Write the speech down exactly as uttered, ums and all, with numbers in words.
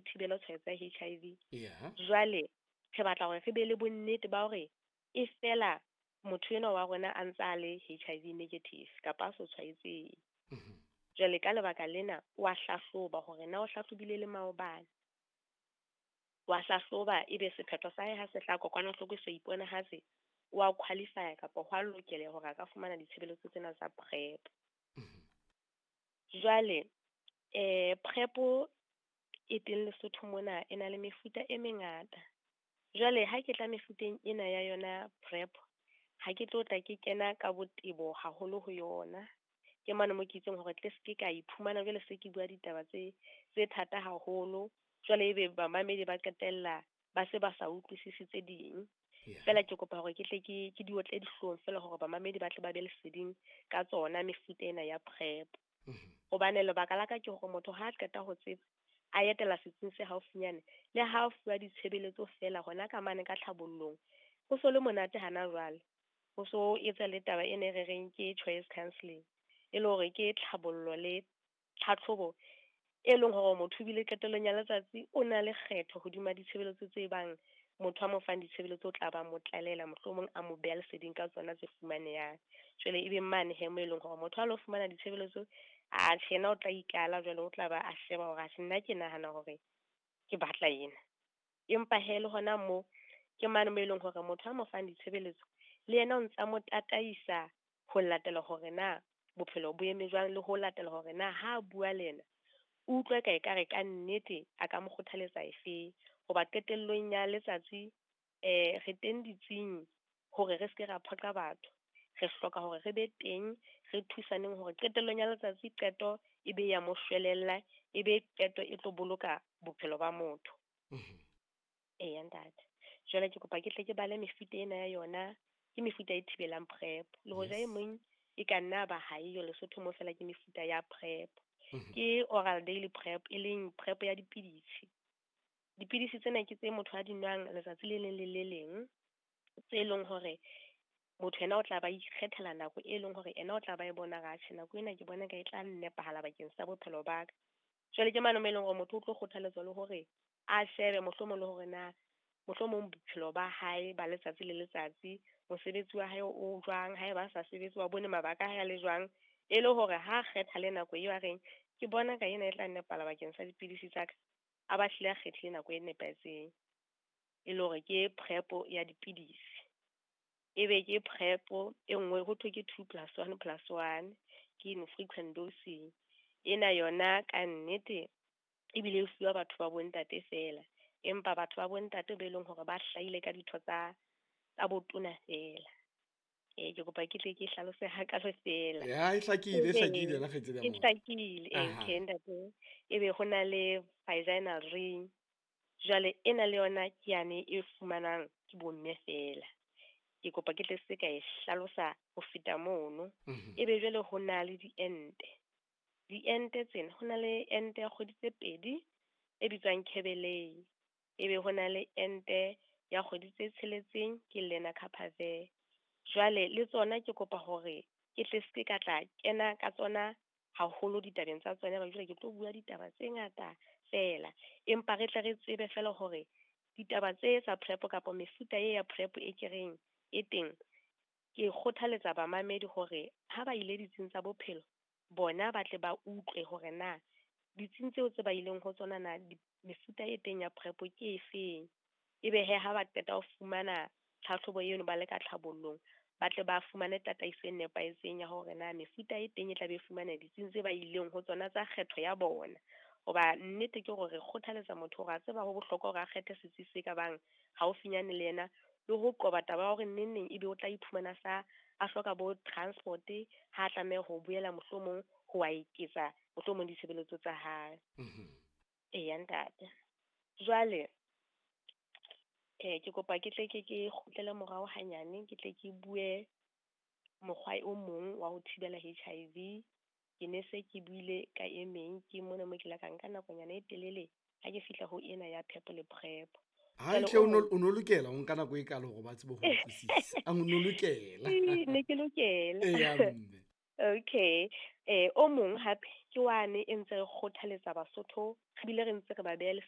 re thibele tshwaetso ya H I V. Yeah. Jwale re batla hore re be le bonnete ba hore e fela motho enwa wa rona a ntse a le H I V negative kapa a so tshwaetseng. Mm-hmm. Jwale ka lebaka lena wa hlahloba hore na o hlahlobile le maobane. Wa hlahloba ebe sephetho sa hae ha se tla kokwanahloko se iponahatse, wa qualify kapa hwa lokela hore a ka fumana ditshebeletso tsena tsa PrEP. Mm-hmm. Jwale eh PrEP e teng Lesotho mona e na le mefuta e mengata. Jwale ha ke tla mefuteng ena ya yona PrEP, ha ke tlo tla ke kena ka botebo haholo ho yona. Ke mane mo ke itseng hore tle se ke ka iphumana jwale se ke bua ditaba tse, tse thata haholo. Jwale ebe bamamedi ba qetella ba se ba sa utlwisise tse ding. Yeah. Fela ke kopa hore ke tle ke, ke di otle dihlong fela hore bamamedi ba tle ba be leseding ka tsona mefuta ena ya PrEP. Mm-hmm. Hobane lebaka la ka ke hore motho ha a qeta ho tseba a etela setsing se haufinyane le ha a fuwa ditshebeletso fela hona ka mane ka tlhabollong, ho so le monate hana jwale. Ho so etsa le taba e ne re reng ke choice counselling, e le hore ke tlhabollo le tlhatlhobo e leng hore motho ebile qetellong ya letsatsi o na le kgetho hodima ditshebeletso tse bang motho a mo fang ditshebeletso o tla ba mo tlalela, mohlomong a mo beha leseding ka tsona tse fumanehang. Jwale ebe mane he mo e leng hore motho ha lo fumana ditshebeletso, a tjhe, yena o tla ikala jwale o tla ba a sheba hore atjhe, nna ke nahana hore ke batla ena. Empa he le hona moo ke mane mo e leng hore motho a mo fang ditshebeletso le yena o ntsa mo tataisa ho latela hore na bophelo bo eme jwang, le ho latela hore na ha a bua le yena o utlwe ka ekare ka nnete a ka mo kgothaletsa efe. Hoba qetellong ya letsatsi, eh, re teng ditsing hore re se ke ra phoqa batho. Re hloka hore re be teng, re thusaneng hore qetellong ya letsatsi qeto e be ya mo shwelella, e be qeto e tlo boloka bophelo ba motho. Mm-hmm. Eya, ntate. Jwale ke kopa ke tle ke bale mefuta ena ya yona, ke mefuta e thibelang PrEP. Le hoja e Yes. mong e ka nna ba ha eyo Lesotho mo fela ke mefuta ya PrEP. Mm-hmm. Ke oral daily PrEP, e leng PrEP ya dipidisi. Dipidisi tsena ke tse motho a di nwang letsatsi le leng le le leng, tse leng hore motho yena o tla ba ikgethela nako e leng hore yena o tla ba e bona ra tjhe, nako ena ke bona ka e tla nepahala bakeng sa bophelo ba ka. Jwale ke mane mo e leng hore motho o tlo kgothaletswa le hore a shebe mohlomong le hore na mohlomong bophelo ba hae ba letsatsi le letsatsi, mosebetsi wa hae o jwang, haeba a sa sebetse wa bone mabaka a hae a le jwang, e le hore ha kgetha le nako eo a reng ke bona ka ena e tla nepala bakeng sa dipidisi tsa ka, a ba hlile a kgethile nako e nepahetseng, e le hore ke PrEP ya dipidisi. Ebe ke PrEP e nngwe ho thwe ke two plus one plus one, ke infrequent dosing. Ena yona ka nnete ebile e fuwa batho ba bontate fela, empa batho ba bontate be leng hore ba hlahile ka ditho tsa, tsa botona fela. Eh, ke kopa ke tle ke hlalose hakalo fela. Ya, e hlakile, e Ebe hlakile yona kgaitsedi ya e motho. hlakile, eh, Aha. okay, ntate. Ebe ho na le vaginal ring. Jwale ena le yona ke yane e fumanwang ke bomme fela. Ke kopa ke tle se ka e hlalosa ho feta mono. Mm-hmm. Ebe jwale ho na le diente. Diente tsena, ho na le ente ya kgwedi tse pedi e bitswang Kebelei. Ebe ho na le ente ya kgwedi tse tsheletseng ke Lenacapavir. Jwale le tsona ke kopa hore ke tle se ka tla kena ka tsona haholo ditabeng tsa tsona, hobane jwale ke tlo bua ditaba tse ngata fela. Empa re tle re tsebe fela hore ditaba tse tsa PrEP kapa mefuta e ya PrEP e ke reng e teng, ke kgothaletsa bamamedi hore ha ba ile ditsing tsa bophelo, bona ba tle ba utlwe hore na ditsing tseo tse ba ileng ho tsona na di-, mefuta e teng ya PrEP ke efeng. Ebe he ha ba qeta ho fumana tlhahlobo eno ba le ka tlhabollong, ba tle ba fumane tataiso e nepahetseng ya hore na mefuta e teng e tla be e fumana ditsing tse ba ileng ho tsona tsa kgetho ya bona. Hoba nnete ke hore re kgothaletsa motho hore a tseba ho bohlokwa hore a kgethe setsi se ka bang haufinyane le yena, le ho qoba taba ya hore neng neng ebe o tla iphumana sa a hloka bo transport ha a tlameha ho boela mohlomong ho wa eketsa mohlomong ditshebeletso tsa hae. Mm-hmm. Eya, ntate. Jwale eh, ke kopa ke tle ke, ke kgutlele morao hanyane, ke tle ke bue mokgwa o mong wa ho thibela H I V. Ke ne se ke buile ka e meng, ke mona mo ke la ka nka nakonyana e telele ha ke fihla ho ena ya PEP le PrEP. Ha Jwale tle o o no, o no lokela ho nka nako e kalo hore ba tsebe ho utlwisisa. A o no lokela. Ee, ne ke lokela. Eya, mme. Okay. Eh, o mong hape ke wane e ntse re kgothaletsa Basotho, re bile re ntse re ba beha